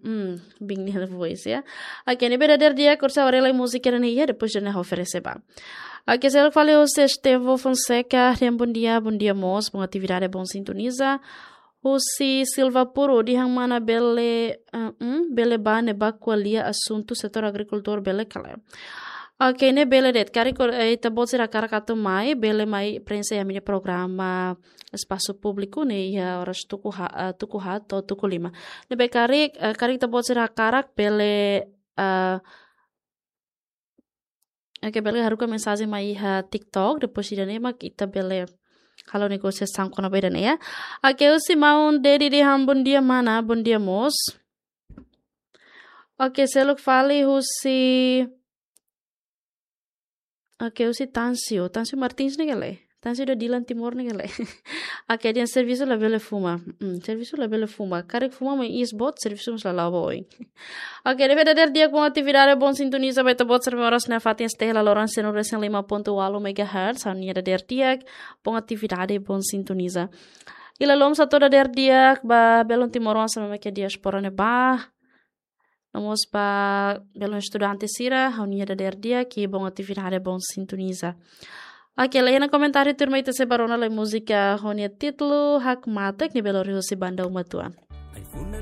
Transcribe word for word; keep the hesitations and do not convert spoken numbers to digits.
Hmm, bing nia voice ya. Oke, ne'ebé dadeer di'ak, orsida haree lai múzika ne'e iha, depois ida-ne'e oferese ba. Oke, seluk fali husi Estevo Fonseca, dehan bom dia, bom dia mós, bom atividade, bom sintoniza. Husi Silva Puro, dehan mana bele, eh, hmm, bele ba ne'ebá ko'alia asuntu setór agrikultór bele ka lae. Oke, ne'e bele de'it, karik, eh, ita-boot sira hakarak atu mai, bele mai prenxe iha ami-nia programa espasu públiku ne'e iha oras tuku ha-, eh, tuku haat to'o tuku lima. Ne'ebé karik, eh, karik ita-boot sira hakarak bele, eh, oke, bele haruka mensajen mai iha TikTok, depois ida-ne'e mak ita bele halo negosiasaun kona-ba ida-ne'e ya. Oke, husi maun Dedi dehan bom dia mana, bom dia mós. Oke, seluk fali husi Oke, husi Tansio. Tansio Martins ne'e ka lae? Tansio ida Dilan Timor ne'e ka lae? Oke, dehan servisu labele fuma. Hmm, servisu labele fuma. Karik fuma mai iis boot, servisu mós la la'o ba oin. Oke, ne'ebé dadeer di'ak, bom atividade, bom sintoniza ba ita-boot sira mak oras ne'e fatin S T L loron cento e cinco ponto oito megahertz. Ha'u-nia dadeer di'ak, bom atividade, bom sintoniza. I lalom satu dadeer di'ak ba belun timoroan sira mak iha diáspora ne'ebá. No mós ba belun estudante sira, ha'u-nia dadeer di'ak, i bom atividade, bom sintoniza. Oke, laiha ona komentáriu, tuirmai ita sei ba rona lai múzika ho nia títulu Hakmatek, ne'ebé lori husi banda Uma Tuan.